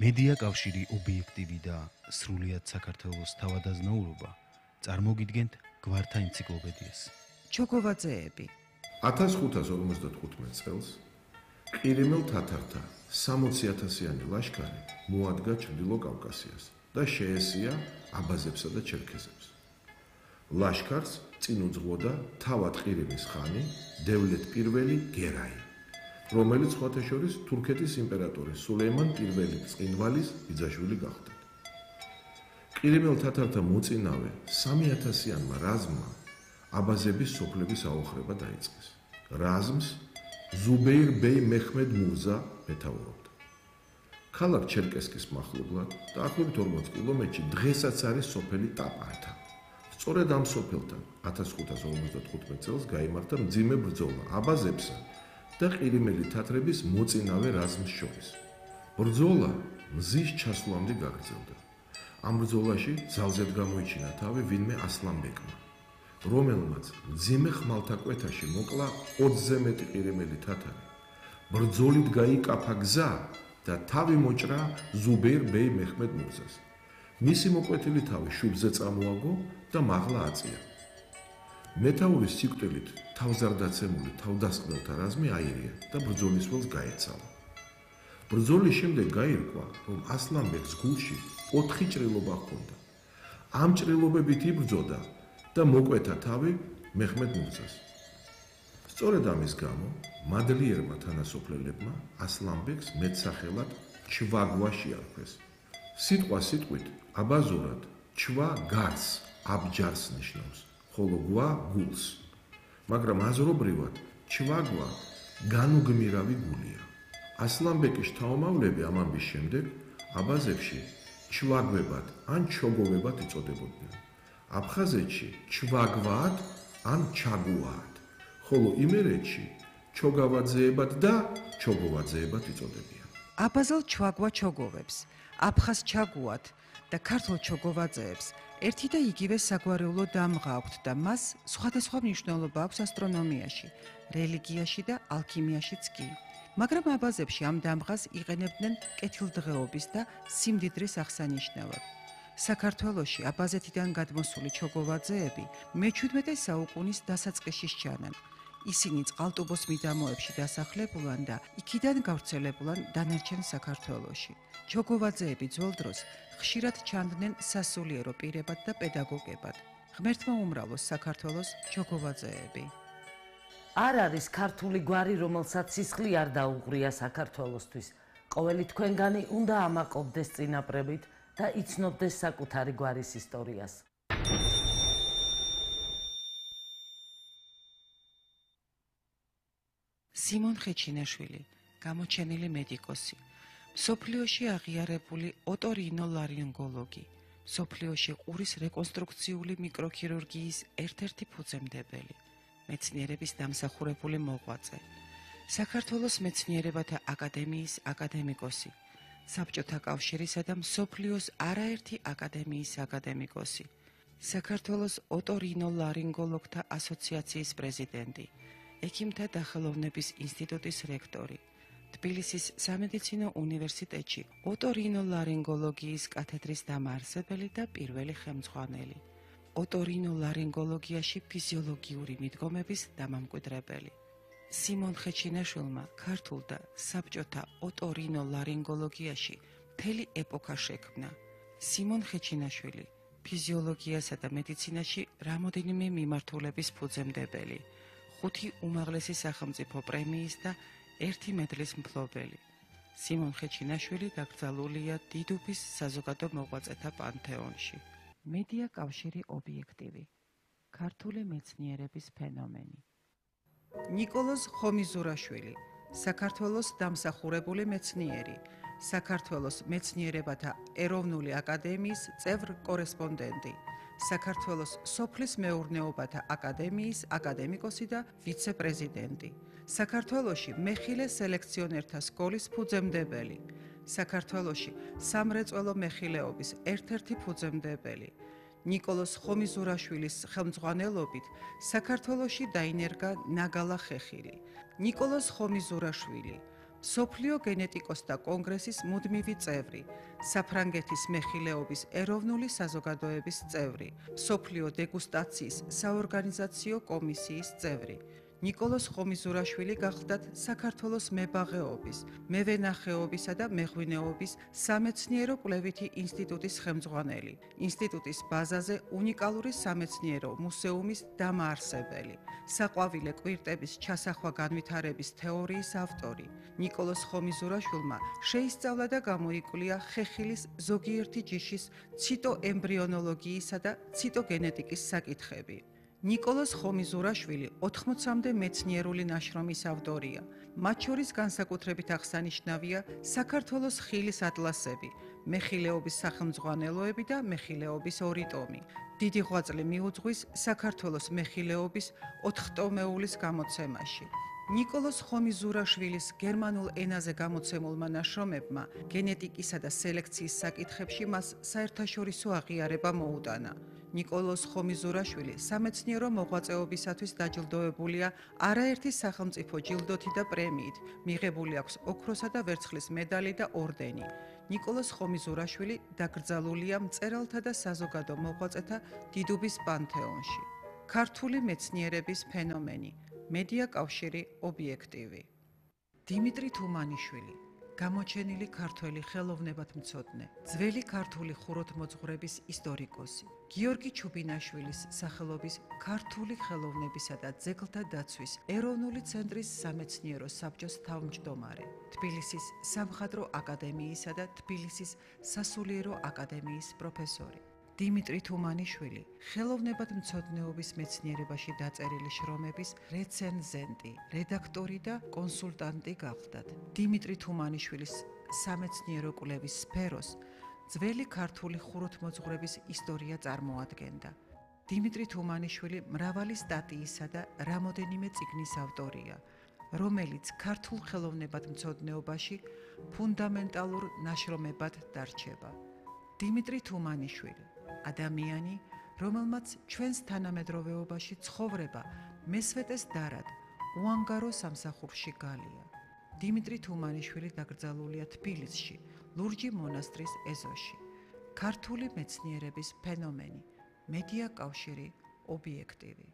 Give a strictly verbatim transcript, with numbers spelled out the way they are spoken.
მედია კავშირი ობიექტივი და სრულიად საქართველოს თავადაზნაურობა წარმოგიდგენთ გვართა ენციკლოპედიას. ჩოგოვაძეები. ათას ხუთას ორმოცდათხუთმეტ წელს ყირიმელ თათართა სამოცი ათასიანი ლაშქარი მოადგა ჩრდილო კავკასიას და შეესია აბაზებსა და ჩერქეზებს. ლაშქარს წინ უძღვოდა თავად ყირიმის ხანი დევლეთ პირველი გერაი, რომელიც სხვათა შორის თურქეთის იმპერატორის სულეიმან პირველი წყინვალის ბიძაშვილი გახდა. ყირიმელ თათართა მოწინავე სამი ათასიანმა რაზმმა აბაზების სოფლების აოხრება დაიწყეს. რაზმს ზუბეირ ბეი მეჰმედ მურზა მეთაურობდა. ქალაქ ჩერკესკის მახლობლად დაახლოებით ორმოც კილომეტრში დღესაც არის სოფელი ტაპანთა. სწორედ ამ სოფელთან ათას ხუთას ორმოცდათხუთმეტ წელს გაიმართა მძიმე ბრძოლა აბაზებსა და ყირიმელი თათრების მოწინავე რაზმს შორის. ბრძოლა მზის ჩასვლამდე გაგრძელდა. ამ ბრძოლაში ძალზედ გამოიჩინა თავი ვინმე ასლანბეკმა, რომელმაც მძიმე ხმალთაკვეთაში მოკლა ოცზე მეტი ყირიმელი თათარი. ბრძოლით გაიკაფა გზა და თავი მოჭრა ზუბეირ ბეი მეჰმედ მურზას. მისი მოკვეთილი თავი შუბზე წამოაგო და მაღლა აწია. მეთაურის სიკვდილით თავზარდაცემული თავდასხმელთა რაზმი აირია და ბრძოლის ველს გაეცალა. ბრძოლის შემდეგ გაირკვა, რომ ასლანბეკს გულში ოთხი ჭრილობა ჰქონდა. ამ ჭრილობებით იბრძოდა და მოკვეთა თავი მეჰმედ მურზას. სწორედ ამის გამო მადლიერმა თანასოფლელებმა ასლანბეკს მეტსახელად ჩვაგვა შეარქვეს. სიტყვა სიტყვით აბაზურად ჩვა გარს, აბჯარს ნიშნავს, ხოლო გვა გულს. მაგრამ აზრობრივად ჩვაგვა განუგმირავი გულია. ასლანბეკის შთამომავლები ამ ამბის შემდეგ აბაზებში ჩვაგვებად ან ჩოგოვებად იწოდებოდნენ. აფხაზეთში ჩვაგვად ან ჩაგუად, ხოლო იმერეთში ჩოგავაძეებად და ჩოგოვაძეებად იწოდებიან. აბაზელ ჩვაგვა ჩოგოვებს, აფხაზ ჩაგუად და ქართულ ჩოგოვაძეებს ერთი და იგივე საგვარეულო დამღა აქვთ და მას სხვადასხვა მნიშვნელობა აქვს ასტრონომიაში, რელიგიაში და ალქიმიაშიც კი. მაგრამ აბაზებში ამ დამღას იყენებდნენ კეთილდღეობის და სიმდიდრის აღსანიშნავად. საქართველოში აბაზეთიდან გადმოსული ჩოგოვაძეები მეჩვიდმეტე საუკუნის დასაწყისში სჩანან. ისინი წყალტუბოს მიდამოებში დასახლებულან და იქიდან გავრცელებულან დანარჩენ საქართველოში. ჩოგოვაძეები ძველ დროს ხშირად ჩანდნენ სასულიერო პირებად და პედაგოგებად. ღმერთმა უმრავლოს საქართველოს ჩოგოვაძეები. არ არის ქართული გვარი, რომელსაც სისხლი არ დაუღრია საქართველოსთვის. ყოველი თქვენგანი უნდა ამაყობდეს წინაპრებით და იცნობდეს საკუთარი გვარის ისტორიას. სიმონ ხეჩინაშვილი, გამოჩენილი მედიკოსი, მსოფლიოში აღიარებული ოტორინოლარინგოლოგი, მსოფლიოში ყურის რეკონსტრუქციული მიკროქირურგიის ერთ-ერთი ფუძემდებელი, მეცნიერების დამსახურებული მოღვაწე, საქართველოს მეცნიერებათა აკადემიის აკადემიკოსი, საბჭოთა კავშირისა და მსოფლიოს არაერთი აკადემიის აკადემიკოსი, საქართველოს ოტორინოლარინგოლოგთა ასოციაციის პრეზიდენტი, ექიმთა დახელოვნების ინსტიტუტის რექტორი, თბილისის სამედიცინო უნივერსიტეტში ოტორინოლარინგოლოგიის კათედრის დამაარსებელი და პირველი ხელმძღვანელი, ოტორინოლარინგოლოგიაში ფიზიოლოგიური მიდგომების დამამკვიდრებელი. სიმონ ხეჩინაშვილმა ქართულ და საბჭოთა ოტორინოლარინგოლოგიაში მთელი ეპოქა შექმნა. სიმონ ხეჩინაშვილი ფიზიოლოგიასა და მედიცინაში რამოდენიმე მიმართულების ფუძემდებელი, ხუთი უმაღლესი სახელმწიფო პრემიის და ერთი მედლის მფლობელი. სიმონ ხეჩინაშვილი დაკრძალულია დიდუბის საზოგადო მოღვაწეთა პანთეონში. მედია კავშირი ობიექტივი. ქართული მეცნიერების ფენომენი. ნიკოლოზ ხომიზურაშვილი, საქართველოს დამსახურებული მეცნიერი, საქართველოს მეცნიერებათა ეროვნული აკადემიის წევრ-კორესპონდენტი, საქართველოს სოფლის მეურნეობათა აკადემიის აკადემიკოსი და ვიცე-პრეზიდენტი, საქართველოში მეხილე სელექციონერთა სკოლის ფუძემდებელი, საქართველოში სამრეწველო მეხილეობის ერთ-ერთი ფუძემდებელი. ნიკოლოზ ხომიზურაშვილის ხელმძღვანელობით საქართველოში დაინერგა ნაგალა ხეხილი. ნიკოლოზ ხომიზურაშვილი სოფლიო გენეტიკოსთა კონგრესის მუდმივი წევრი, საფრანგეთის მეხილეობის ეროვნული საზოგადოების წევრი, სოფლიო დეგუსტაციის საორგანიზაციო კომისიის წევრი. ნიკოლოზ ხომიზურაშვილი გახლდათ საქართველოს მებაღეობის, მევენახეობისა და მეღვინეობის სამეცნიერო კვლევითი ინსტიტუტის ხელმძღვანელი, ინსტიტუტის ბაზაზე უნიკალური სამეცნიერო მუსეუმის დამაარსებელი, საყვავილე კვირტების ჩასახვა განვითარების თეორიის ავტორი. ნიკოლოზ ხომიზურაშვილმა შეისწავლა და გამოიკვლია ხეხილის ზოგიერთი ჯიშის ციტოემბრიონოლოგიისა და ციტოგენეტიკის საკითხები. ნიკოლოზ ხომიზურაშვილი ოთხმოცამდე მეცნიერული ნაშრომის ავტორია. მათ შორის განსაკუთრებით აღსანიშნავია საქართველოს ხილის ატლასები, მეხილეობის სახელმძღვანელოები და მეხილეობის ორი ტომი. დიდი ღვაწლი მიუძღვის საქართველოს მეხილეობის ოთხტომეულის გამოცემაში. ნიკოლოზ ხომიზურაშვილის გერმანულ ენაზე გამოცემულმა ნაშრომებმა გენეტიკისა და სელექციის საკითხებში მას საერთაშორისო აღიარება მოუტანა. ნიკოლოზ ხომიზურაშვილი სამეცნიერო მოღვაწეობისათვის დაჯილდოებულია არაერთი სახელმწიფო ჯილდოთი და პრემიით, მიღებული აქვს ოქროსა და ვერცხლის მედალი და ორდენი. ნიკოლოზ ხომიზურაშვილი დაკრძალულია მწერალთა და საზოგადო მოღვაწეთა დიდუბის პანთეონში. ქართული მეცნიერების ფენომენი, მედია კავშირი ობიექტივი. დიმიტრი თუმანიშვილი, გამოჩენილი ქართველი ხელოვნებათმცოდნე, ძველი ქართული ხუროთმოძღვრების ისტორიკოსი, გიორგი ჩუბინაშვილის სახელობის ქართული ხელოვნებისა და ძეგლთა დაცვის ეროვნული ცენტრის სამეცნიერო საბჭოს თავმჯდომარე, თბილისის სამხატვრო აკადემიისა და თბილისის სასულიერო აკადემიის პროფესორი. დიმიტრი თუმანიშვილი, ხელოვნებათმცოდნეობის მეცნიერებაში დაწერილი შრომების რეცენზენტი, რედაქტორი და კონსულტანტი გახლდათ. დიმიტრი თუმანიშვილის სამეცნიერო კვლევის სფეროს ძველი ქართული ხუროთმოძღვრების ისტორია წარმოადგენდა. დიმიტრი თუმანიშვილი მრავალი სტატიისა და რამოდენიმე წიგნის ავტორია, რომელიც ქართულ ხელოვნებათმცოდნეობაში ფუნდამენტალურ ნაშრომებად დარჩება. დიმიტრი თუმანიშვილი, ადამიანი, რომელმაც ჩვენს თანამედროვეობაში ცხოვრება მესვეტეს დარად, უანგარო სამსახურში გალია. დიმიტრი თუმანიშვილი დაკრძალულია თბილისში, ლურჯი მონასტრის ეზოში. ქართული მეცნიერების ფენომენი, მედია კავშირი ობიექტივი.